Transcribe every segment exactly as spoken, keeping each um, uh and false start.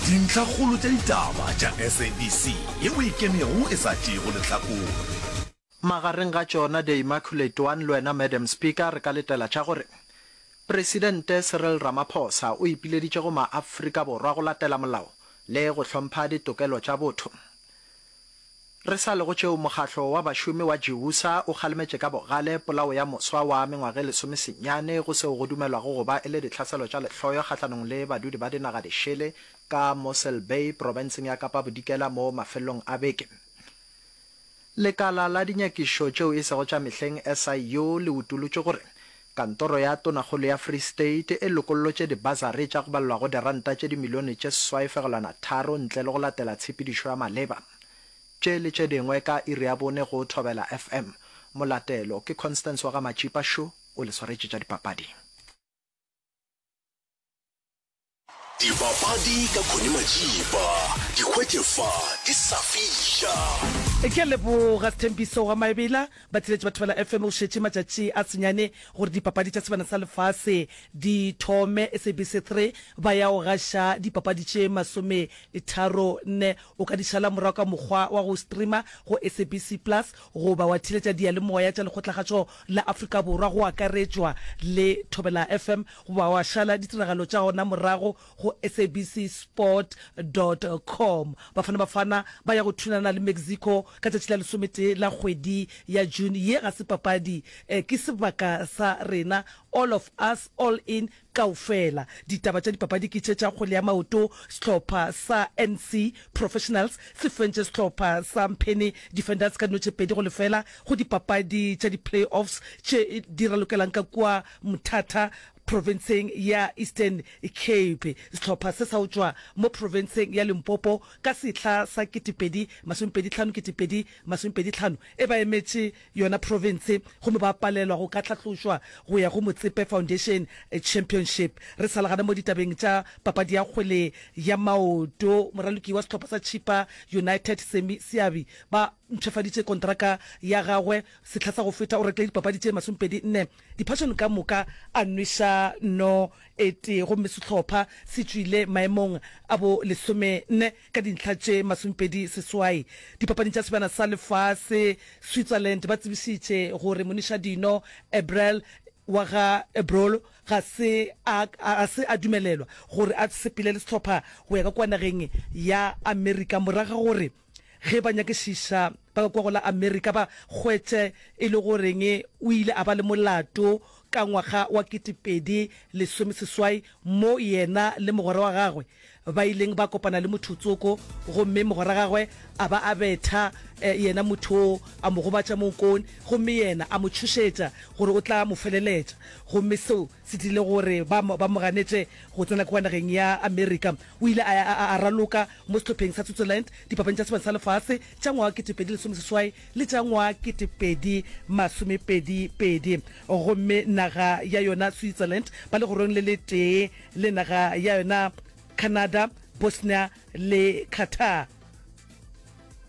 Dintlhakgolo tša ditaba tša S A B C yeo e kemego e sa tšeego lehlakore. Magareng ga tšona The Immaculate One le wena, Madam Speaker, re ka letela tša gore Presidente Cyril Ramaphosa o ipileditše go maAfrika Borwa go latela molao le go hlompha ditokelo tša botho. Re sa le go tšeo, mokgatlo wa bašomi wa GIWUSA o kgalemetše ka bogale polao ya moswa wa mengwaga e lesomesenyane go seo go dumelwago go ba e le ditlhaselo tša lehloyo kgahlanong le badudi ba dinaga dišele ka Mossel Bay profenseng ya Kapa Bodikela mo mafelelong a beke. Lekala la dinyakišo tšeo e sego tša mehleng, S I U, le utolotše gore kantoro ya tonakgolo ya Free State e lokollotše dibasari tša go balelwago diranta tše dimilione tše seswai fegelwana tharo ntle le go latela tshepedišo ya maleba. Tše le tše dingwe ka iri ya bone go Thobela F M. Molatelo ke Constance wa ga Matšipa Šo o le swaretše tša dipapadi. Dipapadi ka Connie Majiba, di hwetše fa di sa fiša. Ke a leboga Sthembiso wa Maebela. Batheeletši ba Thobela F M, go šetše matšatši a senyane gore dipapadi tša Sebana sa Lefase di thome. S A B C three ba ya go gaša dipapadi tše masome tharo nne. O ka di šala morago ka mokgwa wa go streama go S A B C Plus goba wa theeletša diyalemoya tša Lekgotlakgašo la Afrika Borwa go akaretšwa le Thobela F M, goba wa šala ditiragalo tša gona morago go S A B C sport dot com. Bafana Bafana ba ya go thulana le Mexico ka tšatši la lesometee la kgwedi ya June. Ye ga se papadi, ke sebaka sa rena, all of us, all in, kaofela. Ditaba tša dipapadi ke tše tša kgwele ya maoto, sehlopha sa N C Professionals se fentše sehlopha sa Mphene Defenders ka dino tše pedi go lefela go dipapadi tša di-play-offs tše di ralokelang ka kua Mthatha profenseng ya Eastern Cape. Sehlopha se sa go tšwa mo profenseng ya Limpopo ka sehla sa ketepedi masomepedi hlano ketepedi masomepedi hlano e ba emetše yona profense gomme ba palelwa go ka hlahlošwa go ya go Motsepe Foundation Championship. Re sa le gana mo ditabeng tša papadi ya kgwele ya maoto, moraloki wa sehlopha sa Chippa United Sammy Seabi ba mpshafaditše kontraka ya gagwe. Sehla sa go feta o rekile dipapadi tše masomepedi nne, diphašone ka moka a nweša no e tee, gomme sehlopha se tšwile maemong a bo lesome nne ka dintlha tše masomepedi seswai. Dipapading tša Sebjana sa Lefase, Switzerland ba tsebišitše gore monišadino Ebrel wa ga Ebrolo ga se a a se a dumelelwa gore a sepele le sehlopha go ya ka kua nageng ya Amerika morago ga gore ge ba nyakišiša ba ka kua go la Amerika ba hwetše e le goreng o ile a ba le molato ka ngwaga wa ketepedi lesome seswai mo yena le mogwera wa gagwe ba ileng ba kopana le motho tsoko gomme mogwera gagwe a ba a betha yena motho oo a mo gobatša mo nkong gomme yena a mo tšhošetša gore o tla mo feleletša, gomme seo se dirile gore ba ba mo ganetše go tsena kua nageng ya Amerika. O ile a ya a a raloka mo sehlopheng sa Switzerland dipapading tša Sebane sa Lefase tša ngwaga ketepedi lesome seswai le tša ngwaga ketepedi masomepedi pedi, gomme naga ya yona Switzerland ba legorong le letee le naga ya yona Canada, Bosnia le Qatar.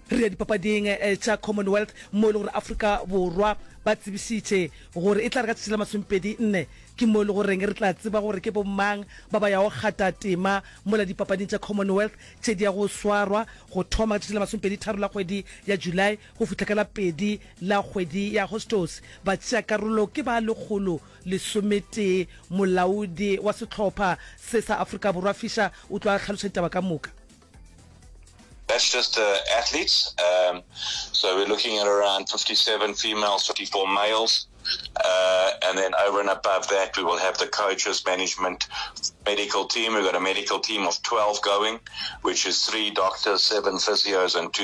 Re ya dipapading tša Commonwealth mo e le gore Afrika Borwa ba tsebišitše gore e tla re ka tšatši la masomepedi nne ke mo e le goreng re tla tseba gore ke bomang ba ba yago kgata tema mola dipapading tša Commonwealth tše di ya go swarwa go thoma ka tšatši la masomepedi tharo la kgwedi ya July go fihla ka la pedi la kgwedi ya Agostose. Batšeakarolo ke ba lekgolo lesometee. Molaodi wa sehlopha se sa Afrika Borwa Fischer o tlo a hlaloša ditaba ka moka. That's just the athletes. Um, so we're looking at around fifty-seven females, fifty-four males. Uh, and then over and above that, we will have the coaches, management, medical team. We've got a medical team of twelve going, which is three doctors, seven physios, and two